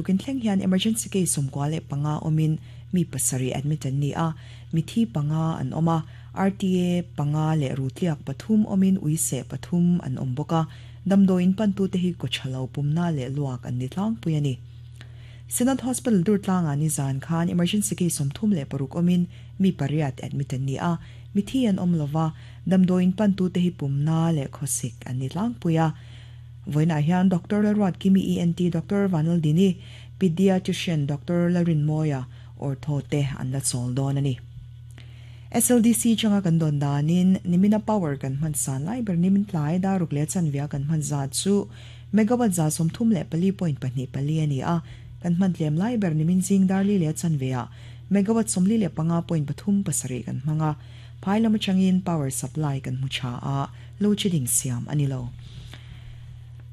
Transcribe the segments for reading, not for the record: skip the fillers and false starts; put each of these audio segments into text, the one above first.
Tukin thleng hian emergency case 95 awmin mi pasarih admit an ni a, mithi panga an awm a, RTA panga leh rutliak pathum awmin uiseh pathum an awm bawk a, damdawiin pantute hi kawthalo pumna leh luak an ni tlangpui a ni. Synod Hospital Durtlangah nizan khan emergency case 36 awmin mi pariat admit an ni a, mithi an awm lova, damdawiin pantute hi pumna leh khawsik an ni tlangpui a. Vawiinah hian Doctor Lalruatkimi ENT Doctor Vanlaldini, Pediatrician Doctor Lalrinmawia, Ortho te an la chawl dawn a ni. SLDC changa kan dawn danin nimina power kan hman san lai ber nimin tlai daruk leh chanvia kan hman zat chu megawatt 34.24 a ni a, kan hman tlem lai ber nimin zing darli leh chanveah megawatt 45.37 kan hmang a, phai lam atangin power supply kan hmu tha a, load shedding siam a ni lo.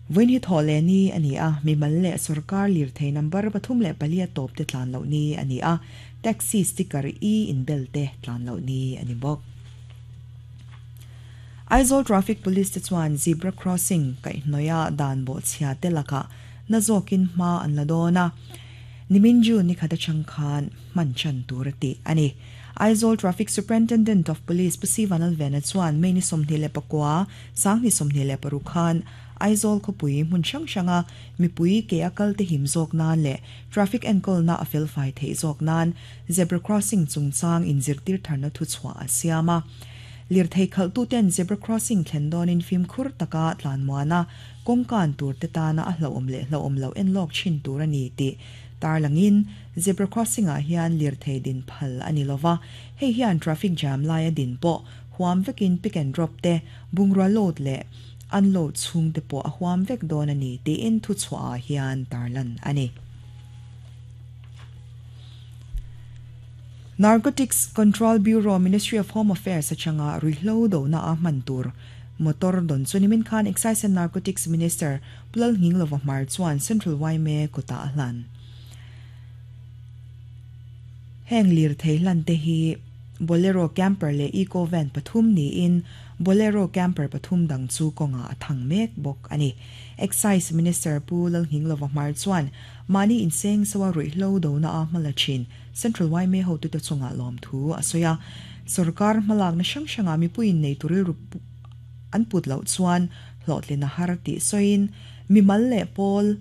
Vawiin hi thawh leh ni a ni a, mimal leh sorkar lirthei number 34 a tawp te tlan loh ni a ni a, taxi sticker e inbel te tlan loh ni a ni bawk. Aizawl Traffic Police te chuan zebra crossing kaihhnawih a dan bawhchhia te lakah na zawkin hma an la dawn a, nimin June ni khat atang khan hman chan tur a tih a ni. Aizawl Traffic Superintendent of Police Pu Sivan Alvena chuan May ni 29, 2026 khan Aizawl khawpui hmun hrang hranga mipui ke a kal te him zawk nan leh traffic enkawlna a felfai theih zawk nan zebra crossing chungchang inzirtir tharna thuchhuah a siam a. Lirthei khalhtuten zebra crossing thlen dawnin fimkhur taka tlanmuan a, kawngkan tur te tana a hlauhawm leh hlauhawm loh enlawk thin tur a ni tih tarlangin zebra crossing ah hian lirthei din phal a ni lova, hei hian traffic jam laia din pawh huam vekin pick and drop te, bungrua load leh unload chhung te pawh a huam vek dawn a ni tiin thuchhuah ah hian tarlan a ni. Narcotics Control Bureau Ministry of Home Affairs atanga ruihhlo dohna a hman tur motor dawn chu nimin khan Excise and Narcotics Minister Pu Lalnghinglova Hmar chuan Central yma kutah a hlan. Heng lirthei hlan te hi Bolero Camper leh Eco Van pathum niin Bolero Camper pathum dang chu kawngah a thang mek bawk a ni. Excise Minister Pu Lalnghinglova Hmar chuan mahni inseng so a ruihhlo dona a hmala thin Central yma hotute chungah lawmthu a sawi a. Sorkar hmalakna hrang hrangah mipuiin nei tur rilru an put loh chuan hlawhtlin a har tih sawiin mimal leh pawl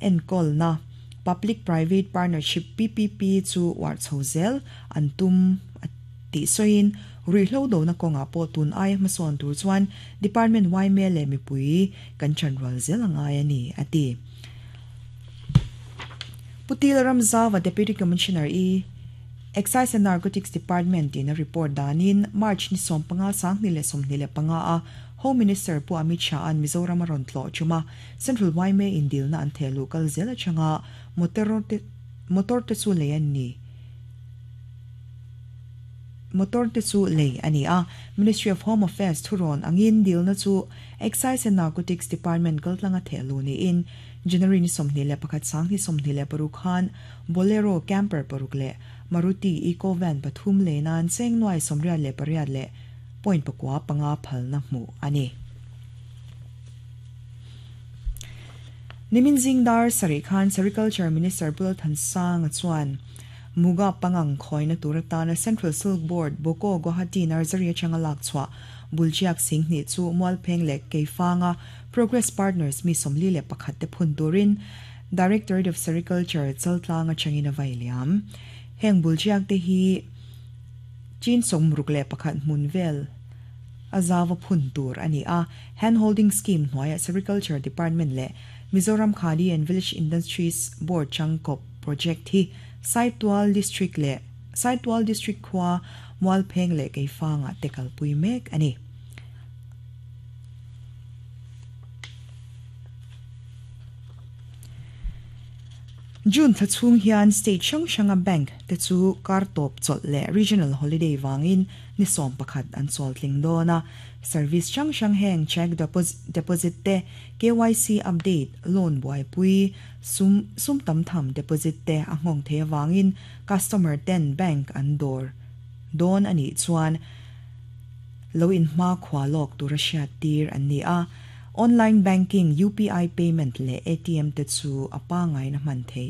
enkawlna Public Private Partnership, PPP, chu uar chho zel an tum a tih sawiin ruihhlo dona kawngah pawh tun aia hmasawn tur chuan Department yma leh mipui kan chanrual zel a ngai a ni, a ti. Pu Til Ramzauva Deputy Commissioner I Excise and Narcotics Department in a report danin March ni 15 2025 a Home Minister Pu Amit Shah an Mizoram a rawn tlawh ṭum a, Central yma in dilna an theh luh kal zel atanga motor te motor te chu lei an ni motor te chu lei a ni a. Ministry of Home Affairs thurawn angin dilna chu Excise and Narcotics Department kaltlanga theh luh niin January ni 21 2026 khan Bolero Camper paruk leh Maruti Eco Van pathum lei nan cheng nuai 88 leh point pakua panga phalna hmuh a ni. Nimin zing dar sarih khan Sericulture Minister Pu Lalthansanga chuan Muga pangang khawina tur atana Central Silk Board Boko Guwahati Nursery atanga lak chhuah Bulchiak Singhnih chu Mualpheng leh Keifanga Progress Partners mi 41 te phun turin Directorate of Sericulture Chaltlang atangin a vai liam. Heng Bulchiak te hi Chin 61 hmun vel a zava phun tur a ni a, Hand Holding Scheme hnuaiah Sericulture Department leh Mizoram Khadi and Village Industries Board changkawp project hi Saitual District leh Saitual District khua Mualpheng leh Keifangah te kalpui mek a ni. June thla chhung hian state hrang hranga bank te chu kar tawp chawlh leh regional holiday vangin ni 11 an chawl tling dawn a. Service hrang hrang heng cheque deposit te, KYC update, loan buaipui, sum sum tam tham deposit te a nghawng thei avangin customer ten bank an dawr dawn a nih chuan lo inhma khua lawk tura hriat tir an ni a. Online banking, UPI payment leh ATM te chu a pangaina hman theih.